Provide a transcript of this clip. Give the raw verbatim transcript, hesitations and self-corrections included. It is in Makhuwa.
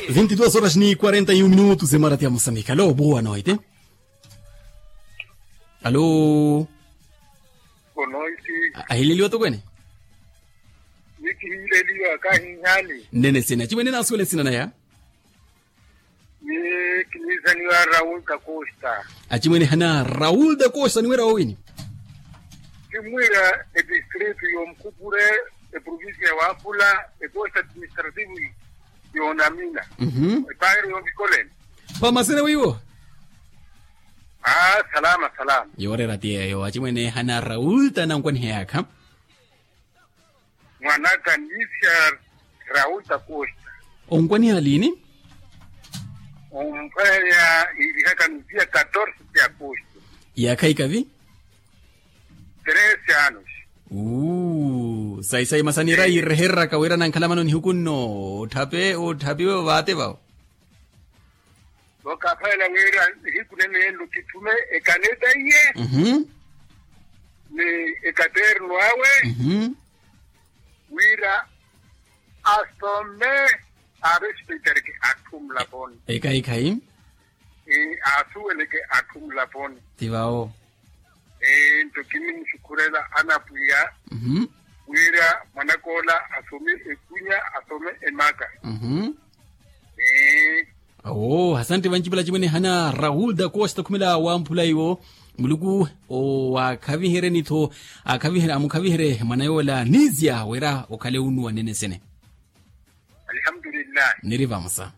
Vinte e duas horas ni quarenta e um minutos emarati ya mosambique alo boa noite. Alo. Boa noite. Ahileliwa tokwene. Nikihileliwa kahihani. Nene sina chimwene nasuwele sina naya. Ni kinisaniwa raul da costa. Achimwene hana raul da costa niwera wawini. Kimwira edistrito yomukupure, eprovincia ya wapula, ecosta administrativo yonamina. Mhm. Epairo yovikoleni. Pamasene wiwo. Ah, salama salama. Yoorera tiyeyo achimwene hana raul tanankwaniha yaakha. Mwanaka nisia raul da costa. Onkwaniha liini? Omphwanya ilihaka nisia catorce de agosto. Yaakha ikavi? Trece anos. Uu sayi sayi masanira yiirehereraka wira nankhalamano nihuku nno. Otthape otthapiwe ovaate vawo. Vakaphayela wira nihiku nene enlo kithume ekaneta iye. Mhm. Ni ekaterno awe. Mhm. Wira asome. Arespeitereke atthu mulaponi. Ekhayi khayi. Asuweleke atthu mulaponi. Ti vawo. Nto kinimusukhurela anapwiya. Mhm. Wira mwanakoola asome ekunya asome emaka. Mhm. Awo asante vancipela cimwene hana raul da costa khumela wamphula iwo. Muluku owaakhaviherye ni-tho akhaviherye amukhaviherye mwana yoola nizia wira okhale unuwa nene sene. Alhamdulillahi. Niri vamosa.